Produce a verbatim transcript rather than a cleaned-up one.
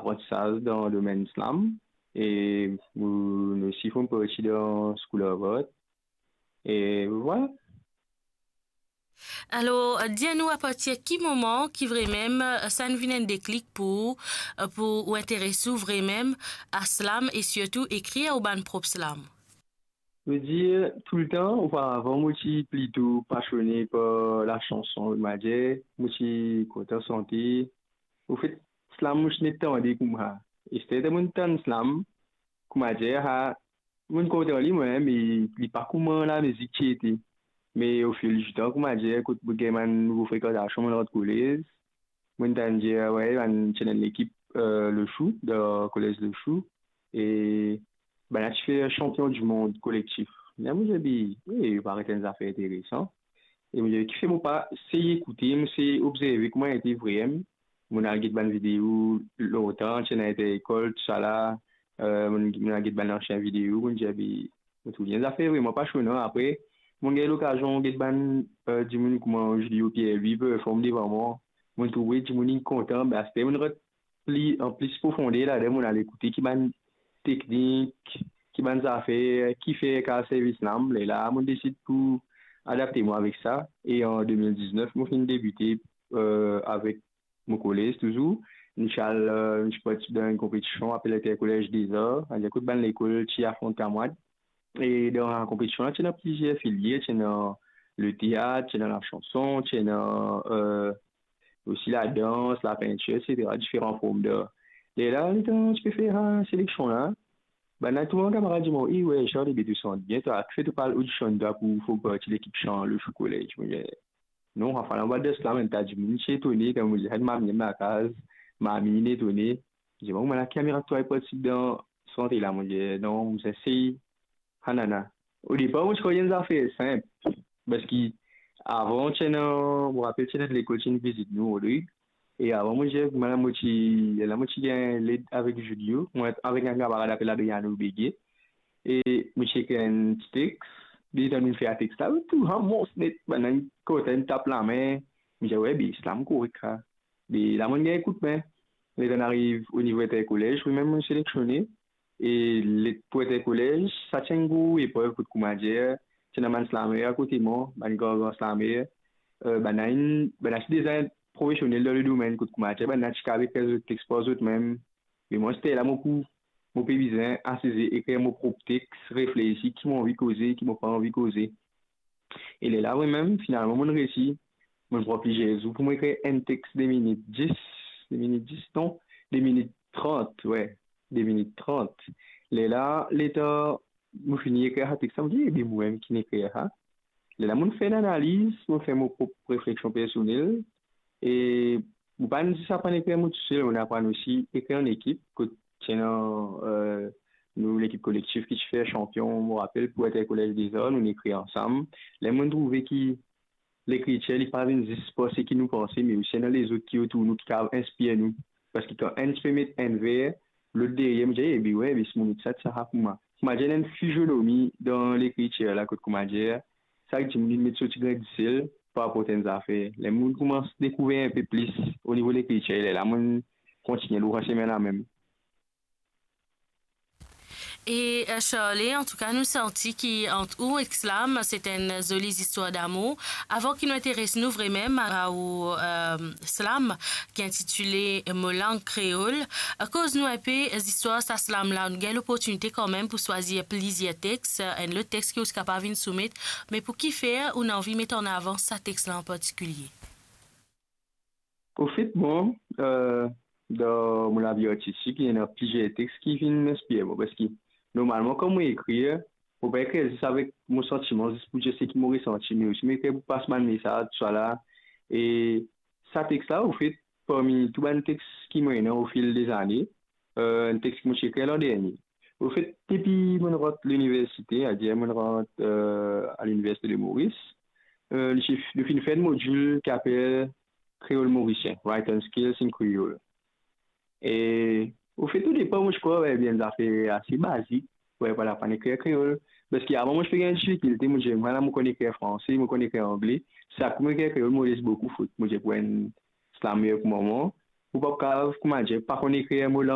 aprantisaz dan domenn slam, e mo'nn osi form parti dan School of Art, e vwala. Alor, dir nou apartir ki moman ki vremem, eh, sa'nn vinn enn deklik pou ou, eh, pou ou interes ou vremem a slam e sirtou ekrir ou bann prop slam? Mo dir, toultan, oparavan, mo ti plito pasione par lasanson, mo dir, mo ti kontan sante. Anfet, slam, mo ti nek tande koumsa. E sirtou, mo'nn tann slam, kouma dir, ha, mo'nn kontan li, mwa, me li pa kouma lamizik ti ete. Me ofil ditan, kouma dir, kot mo'nn gagn bann nouvo frekantasion, mo'nn rant kolez, mo'nn tann dir, we, bann ti ena enn lekip, eh, Le Chou, dan kolez Le Chou, e bannla ti fer sanpion di mond kolektif. La, mo dir, be, we, paret enn zafer interesan. E mo dir, kifer mo pa sey ekoute, mo sey obzerve kouma ete vremem. Mo'nn al get bann video lontan, ti ena Inter-Ecole, tousala. Eh, mo'nn, mo'nn al get bann ansien video, mo'nn dir, be, mo trouv li enn zafer vremem pasionan. Apre, mo'nn gagn lokazion get bann, eh, dimoun kouma Julio Pierre-Louis perform devan mwa. Mo'nn trouve dimoun inn kontan, be, aster mo'nn rant pli, an plis profonder ladan, mo'nn al ekoute ki bann teknik, ki bann zafer, kifer kav servi slam. Lerla mo'nn desid pou adapte mwa avek sa. E an de mil diznef, mo finn debite, eh, avek mo kolez touzour. Nou ti al, eh, nou ti partisip dan enn konpetision apel Intercollège des Arts, savedir kot bann lekol ti afront kamwad. E dan konpetision la, ti ena plizier filier, ti ena leteat, ti ena lasanson, ti ena, eh, osi ladans, lapintir, etsetera, diferan form dar. Lerla, letan ti pe fer, eh, seleksion la, bann tou bann kamarad dir mwa, "E we, Charles, be to sant bien, twa, kifer to pa al odisionn twa pou form parti lekip san Le Chou College?" Mo dir, "Non, anfin, anba de slam, enn ta dimoun ti etone, kan mo dir, enn mami lakaz, mami inn etone." Mo dir, "Bon, mwa la, ki mirak twa partisip dan sante la?" Mo dir, "Non, mo sey." Anana. Odepar, mo ti krwar enn zafer sinp, parski avan, ti ena, mo rapel, ti ena lekol ti inn vizit nou, Rodrig. E avan, mo dir, mwa la, mo ti, la, mo ti gagn led avek Julio, mwa avek enn kamarad apel Adriano Begue. E mo ti ekrir enn ti tex, letan nou fer tex la, tou, ha, mons net, bann inn kontan, inn tap lame. Mo dir, we, be, slam korek, sa. Be, la, mo'nn gagn koudme. Letan ariv onivo Intercollège, wi, mem mo'nn seleksionnen. E le, pou Intercollège, sa ti enn gro eprev kot, kouma dir, ti ena bann slameur akote mwa, bann gran, gran slameur. Eh, bann inn, bann ti deza profesionel dan le domenn kot, kouma dir, bann ti kav ekrir zot tex par zot mem. Me mwa, se la mo pou, mo pe bizin asize, ekrir mo prop tex, reflesi ki mo anvi koze, ki mo pa anvi koze. E lerla, mwa mem, finalman, mo'nn resi. Mo'nn pran plizier zour pou mo ekrir enn tex de minit dis, de minit dis, non, de minit trant, we, de minit trant. Lerla, letan mo fini ekrir sa tex la, mo dir, "Ebe, mo mem ki inn ekrir sa." Lerla, mo'nn fer enn analiz, mo'nn fer mo prop refleksion personel, e mo pa'nn zis aprann ekrir mo tousel, mo'nn aprann osi ekrir an ekip, kot ti ena, eh, nou lekip kolektif ki ti fer sanpion, mo rapel, pou Intercollège des Arts, nou ekrir ansam. Ler mo'nn trouve ki lekritir, li pa vinn zis par seki nou panse, me osi ena lezot ki otour nou ki kav inspir nou. Parski kan enn ti pe met enn ver, lot deryer, mo dir, "Ebe we, be si mo met sa, sa pou mwa." Kouma dir, ena enn fizionomi dan lekritir la, kot, kouma dir, sak dimoun inn met so ti grin disel par rapor enn zafer. Ler mo'nn koumans dekouver enpe plis onivo lekritir, lerla mo'nn kontigne lor sa semin la mem. E, eh, Charlie, antouka, nou santi ki ant ou ek slam, se enn zoli zistwar damour. Avan ki nou interes nou vremem a ou, eh, slam ki intitile Mo lang kreol, eh, koz nou enpe zistwar sa slam la. Nou gagn loportinite kanmem pou swazir plizier tex, eh, enn lot tex ki ou ti kapav vinn soumet, me pou kifer ou ena anvi met an avan sa tex la an partikilie? Anfet, mwa, eh, dan mo lavi artistik, ena plizier tex ki finn inspir mwa, parski normalman, kan mo ekrir, mo pa ekrir zis avek mo santiman, zis pou dir seki mo resanti, me osi mo ekrir pou pas bann mesaz, tousala. E sa tex la, anfet, parmi tou bann tex ki mo ena ofil dezane, eh, enn tex ki mo ti ekrir landernie. Anfet, depi mo'nn rant liniversite, savedir mo'nn rant, eh, a Liniversite de Moris, eh, nou ti, nou finn fer enn modil ki apel Kreol Morisien, Writing Skills in Creole. E, anfet, odepa, mo ti krwar, we, be enn zafer ase bazik, we, pou al aprann ekrir kreol. Parski avan, mo ti pe gagn difikilte, mo dir, mwa la, mo konn ekrir franse, mo konn ekrir angle. Sa, pou mo ekrir kreol, mo les boukou fot. Mo dir, pou enn slameur kouma mwa, ou pa kav, kouma dir, pa konn ekrir mo lang